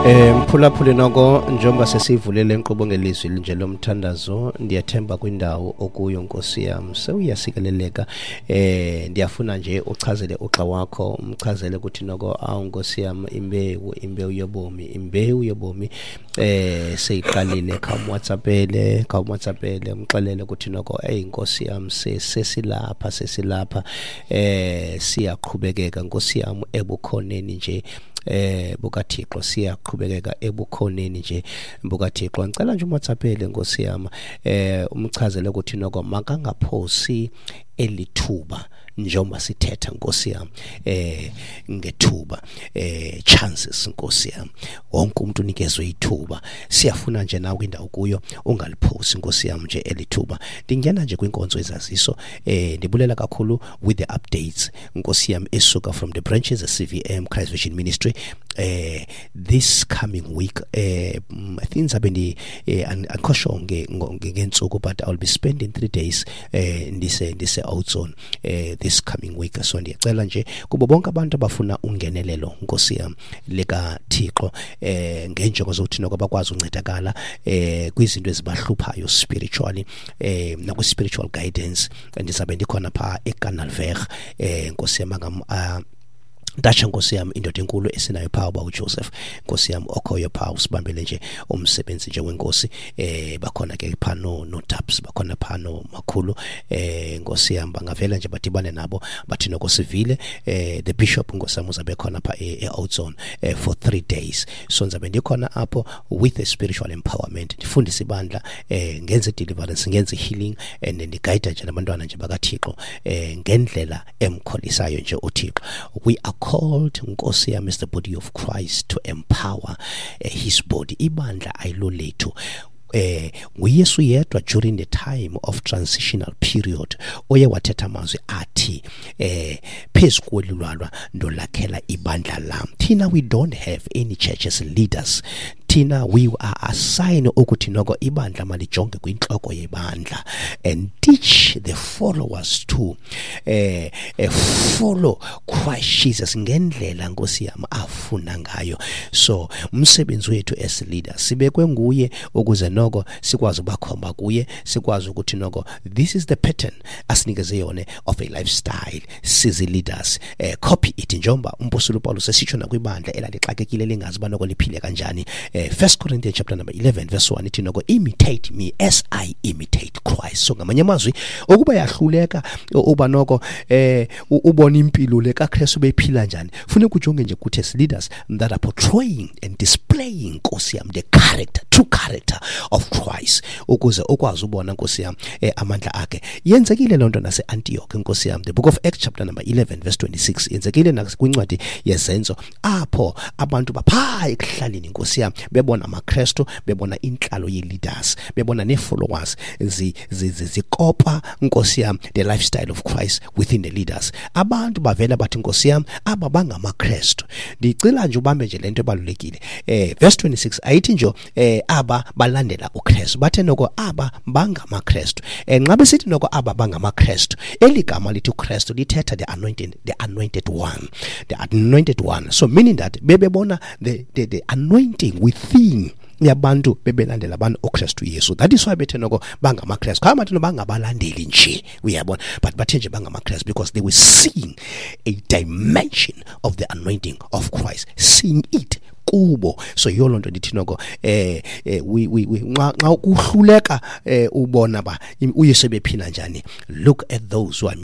Mphulaphuli, noko njengoba sesivule le nkqubo ngelizwi nje lomthandazo, ndiyathemba kwindawo okuyo, nkosi yam, sewuyasikeleleka. Ndiyafuna nje uchazele uxa wakho, umchazele ukuthi noko, awu nkosi yam, imbewu yobomi, imbewu yobomi seyiqalile. Khawumwhatsappele, khawumwhatsappele, umxelele ukuthi noko, eyi nkosi yam, sesilapha, sesilapha, siyaqhubekeka, nkosi yam, ebukhoneni nje bukaThixo, siyaqhubekeka ebukhoneni nje bukaThixo. Ngicela nje umwhatsappele, nkosi yam, umchazele ukuthi noko makangaphosi elithuba njengoba sithetha, nkosi yam, ngethuba, chances, nkosi yam. Wonke umuntu unikezwe ithuba. Siyafuna nje nawe kwindawo kuyo ungaliphosi, nkosi yam, nje elithuba. Ndingena nje kwinkonzo ezaziso. Ndibulela kakhulu with the updates, nkosi yam, esuka from the branches CVM, Christ Vision Ministry. This coming week, I think ndizabe ndi andikho sure ngeentsuku, but I'll be spending 3 days ndise Oudtshoorn this coming week. So ndiyacela nje kubo bonke abantu abafuna ungenelelo, nkosi yam, likaThixo, ngeenjongo zokuthi noko bakwazi uncedakala kwizinto ezibahluphayo spiritually, nakwi-spiritual guidance, ndizabe ndikhona phaa eKanaalweg, nkosi yam. Ndatsho, nkosi yam, indoda enkulu esinayo phaa, uba uJoseph, nkosi yam, okhoyo phaa, usibambele nje umsebenzi nje wenkosi. Bakhona ke phaa no Taps, bakhona phaa no makhulu, nkosi yam, bangavela nje badibane nabo, bathi noko sivile the bishop, nkosi yam, uzabe khona phaa e-Oudtshoorn for 3 days. So ndizabe ndikhona apho with a spiritual empowerment, ndifundise ibandla, ngenze deliverance, ngenze healing, and ndigayida nje nabantwana nje bakaThixo ngendlela emkholisayo nje uThixo. We are called, nkosi yam, as the body of Christ to empower his body. Ibandla ayilo lethu. NguYesu yedwa during the time of transitional period oye wathetha amazwi athi, "Phezu kweli lwalwa ndolakhela ibandla lam." Thina, we don't have any churches leaders. Thina, we are assigned ukuthi noko ibandla malijonge kwintloko yebandla and teach the followers to follow Christ Jesus ngendlela, nkosi yam, afuna ngayo. So umsebenzi wethu as leaders, sibekwe nguye ukuze noko sikwazi ubakhomba kuye, sikwazi ukuthi noko this is the pattern asinikeze yona of a lifestyle. Sizi leaders, copy it, njengoba umpostoli uPaulus esitsho nakwibandla elalixakekile, lingazi uba noko liphile kanjani. First Corinthians chapter number 11 verse 1 ithi noko, "Imitate me as I imitate Christ." So ngamanye amazwi, ukuba yahluleka uba noko ubona impilo le kaKristu bephila njani, funeka ujonge nje kuthi as leaders that are portraying and displaying, nkosi yam, the character, true character of Christ, ukuze ukwazi ubona, nkosi yam, amandla akhe. Yenzekile loo nto nase-Antioch, nkosi yam. The Book of Acts chapter number 11 verse 26, yenzekile nakwincwadi yeZenzo, apho abantu baphaa ekuhlaleni, nkosi yam, bebona amaKrestu, bebona intlalo ye-leaders, bebona nee-followers zikopa, nkosi yam, the lifestyle of Christ within the leaders. Abantu bavela bathi, nkosi yam, aba bangamaKrestu. Ndicela nje ubambe nje le nto ebalulekile. Verse 26 ayithi nje aba balandela uKrestu, bathe noko aba bangamaKrestu. Nxa besithi noko aba bangamaKrestu, eli gama lithi uKrestu lithetha the anointed, the anointed one, the anointed one. So meaning that bebebona the anointing within yabantu bebelandela abantu uKristu Yesu. That is why bethe noko bangamaKristu. Kha bathi bangabalandeli nje, uyabona, but bathe nje bangamaKristu because they were seeing a dimension of the anointing of Christ, seeing it kubo. So yiyo loo nto ndithi noko we nxa kuhluleka ubona ba uYesu bephila njani, look at those who are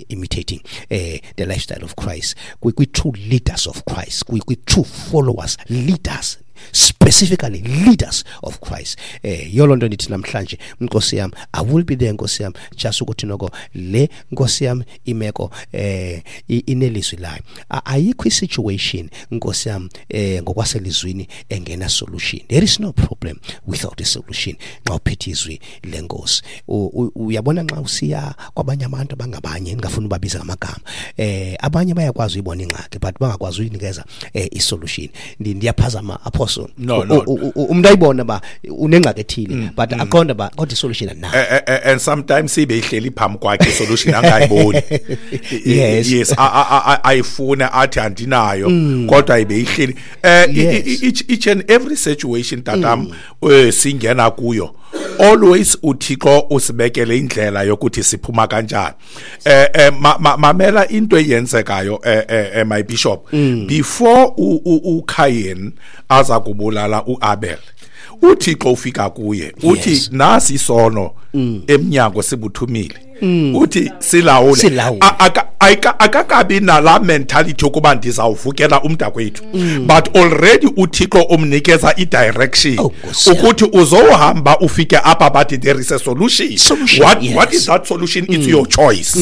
imitating the lifestyle of Christ, kwi true leaders of Christ, kwi true followers, leaders, specifically leaders of Christ. Yiyo loo nto ndithi namhlanje, nkosi yam, I will be there, nkosi yam, just ukuthi noko le, nkosi yam, imeko inelizwi layo. Ayikho i-situation, nkosi yam, ngokwaselizwini engena solution. There is no problem without a solution xa uphethe izwi lenkosi. Uyabona, nxa usiya kwabanye abantu abangabanye, ndingafuni ubabiza ngamagama, abanye bayakwazi uyibona ingxaki but bangakwazi uyinikeza i-solution. Ndiyaphazama, apostle? No, No. Umuntu ayibona ba unengxaki ethile, but aqonda ba kodwa isolution anayo. And sometimes ibe ihleli phambi kwakhe isolution, angayiboni. Yes, ayifuna, athi andinayo, kodwa ibe ihleli. Each and every situation, tatam, singena kuyo, always uThixo usibekele indlela yokuthi siphuma kanjani. Mamela into eyenzekayo, my bishop, before uCain aza kubulala uAbel, uThixo ufika kuye uthi, "Nasi isono emnyango sibuthumile," uthi, "Silawule." Silawule. Akakabi nala mentality yokuba ndizawuvukela umntakwethu, but already uThixo umnikeza i-direction Oh, Nkosi yami. ukuthi uzohamba ufike apha, but there is a solution. Solution, yes. What is that solution? It's your choice.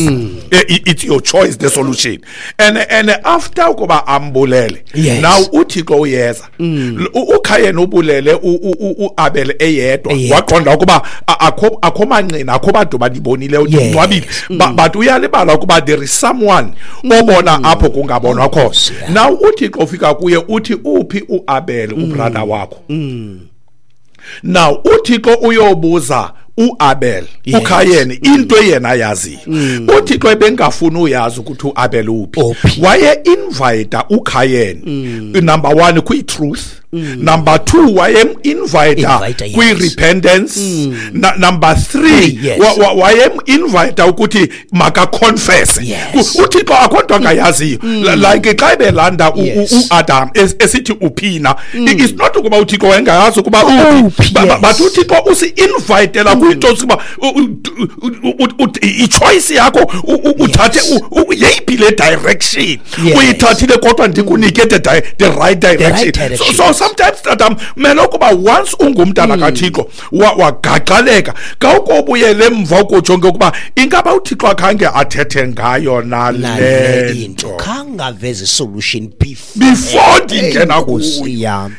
It's your choice, the solution. And after ukuba ambulele, now uThixo uyeza. uKayen ubulele uAbel eyedwa. Eyedwa. Waqonda ukuba akho manqina, akho bantu bandibonile, ndingcwabile. But uyalibala ukuba there is someone obona apho kungabonwa khona. Nkosi yami. Now uThixo ufika kuye uthi, "Uphi uAbel, ubrother wakho?" Now uThixo uyobuza uAbel, uKayen into yena ayaziyo. uThixo ebengafuni uyazi ukuthi uAbel uphi. Uphi. Waye invite uKayen, number 1, kwi truth, number 2, waye invite Invite, yes. kwi repentance, number 3, waye invite ukuthi maka confess. UThixo akho angayaziyo. Like xa ebelanda uAdam esithi uphina, it's not ukuba uThixo wayengayazi ukuba uphi. Uphi, But uThixo usi-invitela kwinto zokuba i-choice yakho, uthathe yeyiphi le direction. Uyithathile, kodwa ndikunike the right direction. Right direction. So sometimes, tatam, mele ukuba once ungumntana kaThixo, wagaqaleka, khawukobuyele emva ukujonge ukuba ingaba uThixo akhange athethe ngayo nale nale into, nto khangaveze solution before before ndingena Nkosi kuyo. yami.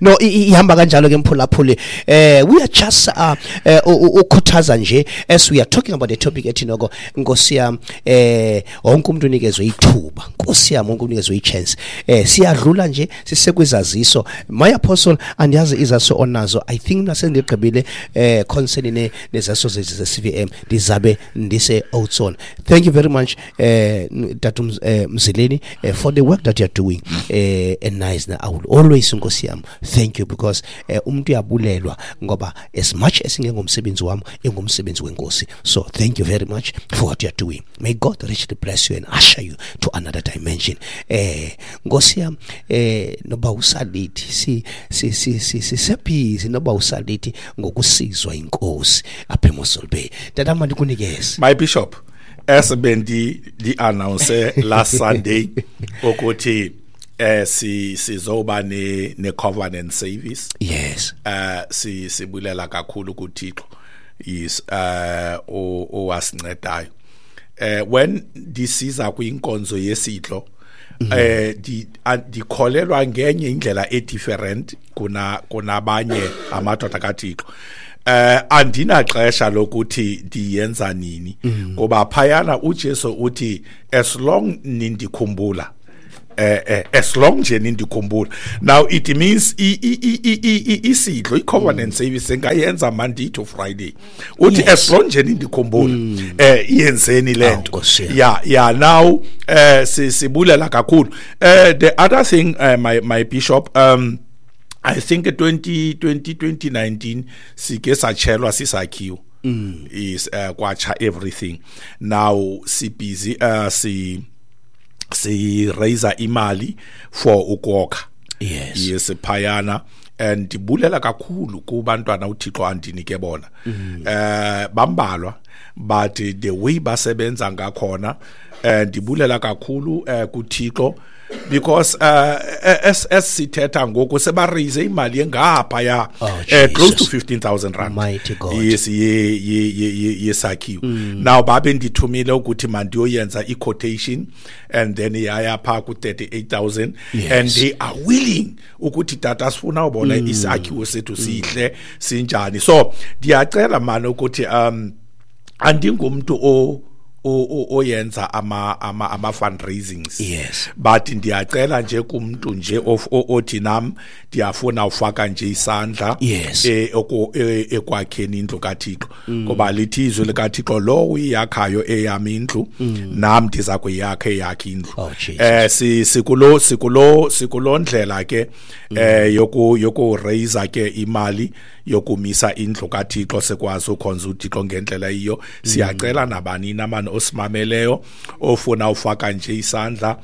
No, ihamba kanjalo ke, mphulaphuli. We are just ukhuthaza nje as we are talking about the topic ethi noko, Nkosi yami, wonke umuntu unikezwe ithuba. Nkosi yami, wonke unikezwe ichance. Siyadlula nje, sisekwizaziso. My apostle, andiyazi izaziso onazo. I think nasendigqibile concerning nezaziso ze CVM, ndizabe ndise Oudtshoorn. Thank you very much, Tata Mzileni, for the work that you are doing. And nice, I will always, Nkosi yami, thank you, because umuntu uyabulelwa ngoba as much as ingengomsebenzi wami, ingumsebenzi wenkosi. So thank you very much for what you are doing. May God richly bless you and usher you to another dimension. Nkosi yami, noba usalithi si sisebhizi, noba usalithi ngokusizwa inkosi apha eMossel Bay. Tata, mandikunikeze. My bishop, as bendi di announce last Sunday ukuthi sizoba ne covenant service. Sibulela kakhulu kuThixo is owasincedayo. When ndisiza kwinkonzo yesidlo, ndikholelwa ngenye indlela e different kuna kunabanye amadoda kaThixo. Andinaxesha lokuthi ndiyenza nini, ngoba phayana uJesu uthi, "As long nindikhumbula, as long nje nindikhumbula." Now it means isidlo, i-covenant service, engayenza Monday to Friday. Uthi, "As long nje nindikhumbula, iyenzeni le Awu, nto." Nkosi yami. Yeah, now sibulela kakhulu. The other thing, my bishop, I think 20 20 2019 sike satshelwa sisakhiwo, is kwatsha everything. Now si busy si raise imali for ukwakha. Yes, phayana, and ndibulela kakhulu kubantwana uThixo andinike bona. Bambalwa, but the way basebenza ngakhona, ndibulela kakhulu kuThixo, because as sithetha ngoku seba raise imali engapha ya Oh, close to Jesus. 15,000 rand. Mighty God. Yes, ye yesakhiwo. Now babe ndithumile ukuthi mandiyoyenza i-quotation, and then yaya pha ku 38,000, and they are willing ukuthi, "Tata, sifuna ubona isakhiwo sethu sihle sinjani." So ndiyacela manje ukuthi andingumuntu o Oyenza ama fundraisings. Yes. But ndiyacela nje kumuntu nje othi nam ndiyafuna ufaka nje isandla ekwakheni indlu kaThixo, ngoba lithi izwi likaThixo, lo uyakhayo eyami indlu, nam ndiza kuyakha eyakhe indlu. Oh, Jesus. Sikulo ndlela ke yoku raise ke imali yokumisa indlu kaThixo, sikwazi ukhonza uThixo ngendlela iyo. Siyacela nabani namani osimameleyo ofuna ufaka nje isandla,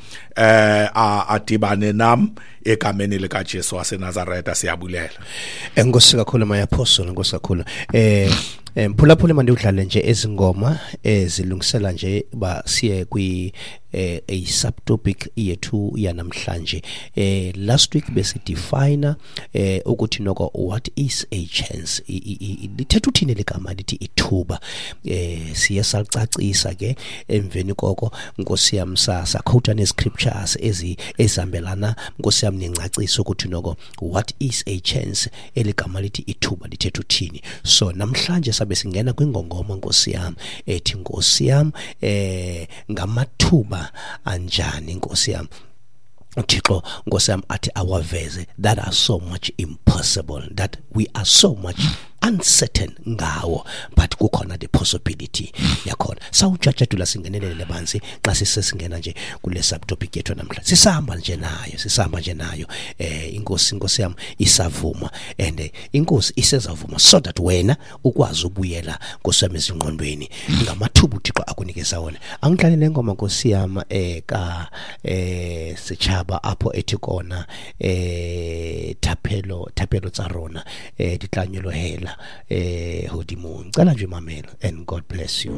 adibane nam egameni likaJesu waseNazaretha. Siyabulela. Enkosi kakhulu, my apostle, enkosi kakhulu. Mphulaphuli, mandidlale nje ezingoma ezilungisela nje ba siye kwi a subtopic yethu yanamhlanje. Last week besidefine ukuthi noko what is a chance, lithetha uthini ligama lithi ithuba. Siye salicacisa ke emveni koko, Nkosi yam, saquota ne-scriptures ezihambelana, Nkosi yam, nengcaciso ukuthi noko what is a chance, eligama lithi ithuba lithetha uthini. So namhlanje sabe singena kwingongoma, Nkosi yam, ethi, Nkosi yam, ngamathuba anjani, Nkosi yam, uThixo, Nkosi yam, athi awaveze that are so much impossible, that we are so much uncertain ngawo, but kukhona the possibility yakhona. Sawujajadula singenelele banzi xa sisesingena nje kule subtopic yethu namhlanje. Sisahamba nje nayo, sisahamba nje nayo. Inkosi, Nkosi yam, isavuma and inkosi isezavuma so that wena ukwazi ubuyela, Nkosi yam, ezingqondweni ngamathuba uThixo akunikeza wona. Angidlale le ngoma, Nkosi yam, ka Sechaba apho ethi kona thapelo tsa rona di tla nyolohela hodimong. Cela nje mamela and God bless you.